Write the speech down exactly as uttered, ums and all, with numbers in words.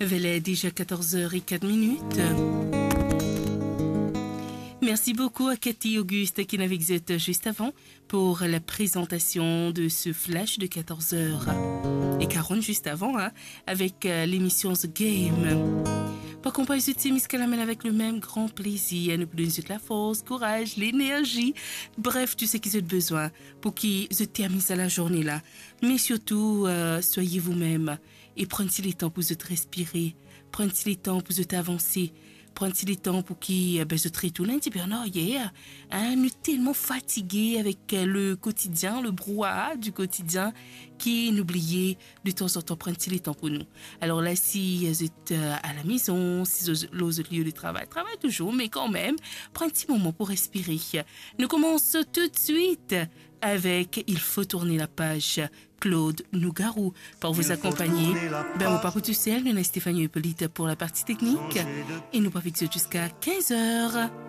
Voilà déjà quatorze heures et quatre minutes. Merci beaucoup à Cathy Auguste qui est avec zot juste avant pour la présentation de ce flash de quatorze heures et quarante juste avant, hein, avec, euh, l'émission The Game. Pou akonpagn zot miskalamel avec le même grand plaisir, nou pou donn zot lafors, kouraz, lenerzi, bref, tou seki zot bizin pou ki zot terminn sa lazourne la. Me sirtou, euh, soyez vous-même e pran ti letan pou zot respire, pran ti letan pou zot avanse, pran ti letan pou ki, eh ben, zot retourn enn tipe an aryer, hein, nou telman fatige avek, euh, le quotidien, le brouhaha du quotidien, ki nou bliye de tanzantan pran ti letan pou nou. Alors là, si, euh, zot, euh, à la maison, si zot, lor zot lieu de travail, travay touzour, me kanmem, pran ti moman pou respire. Nou koumans tout de suite avec Il faut tourner la page, Claude Nougaro, pour vous accompagner. Ben, mo pa pou tousel, nou ena Stéphanie Hippolyte pour la partie technique. E nou pou avek zot jusqu'à quinze heures.